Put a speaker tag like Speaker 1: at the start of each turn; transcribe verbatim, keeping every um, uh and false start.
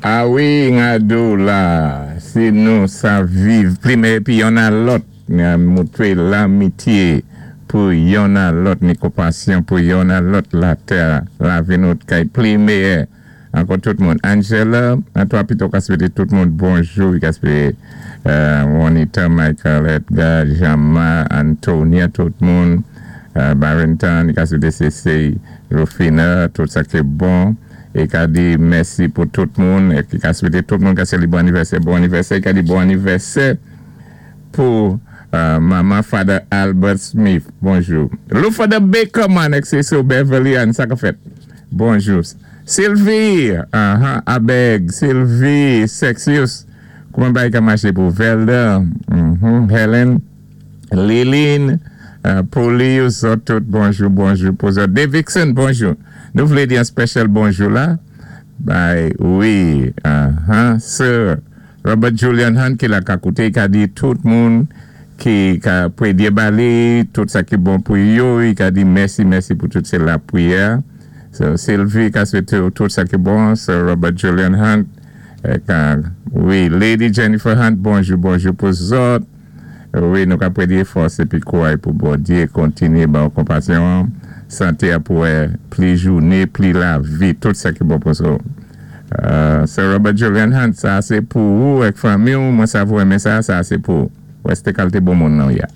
Speaker 1: A wi, ngado la, si nou sa viv pli méyè pi yonn a lòt, ni moutwé lamitié pou yonn a lòt, ni konpasyon pou yonn a lòt latè, lavi nou kay pli méyè. Ankò tout moun. Angela, an twa pito ka swété tout moun bonjou, ka swété Juanita, Michael, Edgar, Jama, Antonia, tout moun, Barrington, ka swété Cece, Rufina, tout sa ki bon. É ka di mèsi pou tout moun, é ki ka swété tout moun ka sé bon anivèsè, bon anivèsè, ka di bon anivèsè pou Mama Father Albert Smith, bonjou. Lou Father Baker man, ek se sou Beverly Ann, sa ka fèt. Bonjou. Sylvie, uh-huh, Abeg, Sylvie, Sexius, kouman bay ka maché pou Velda, mm-hmm, Helen, Liline, uh, Polius, tout bonjou, bonjou pou zòt. Davidson, bonjou. Nou vlé di an special bonjou la. Bay, wi, uh-huh, Sir Robert Julian Hunt ki la ka kouté, ka di tout moun ki ka pwédyé ba li, tout sa ki bon pou yo, i ka di mèsi, mèsi pou tout sé lapriyè. So, Sylvie ka swété tout sa ki bon, Sir Robert Julian Hunt, ka, wi, Lady Jennifer Hunt, bonjou, bonjou pou zòt. Wi, nou ka pwédyé fòs épi kouway pou Bondyé kontinyé ba ou konpasyon, santé a pou pli jouné, pli lavi, tout sa ki bon pou zòt. Uh, Sir Robert Julian Hunt, sa sé pou ou ek fanmi ou, mwen sa vou enmen sa, sa sé pou ou. Wè sé kalité bon moun nan ya.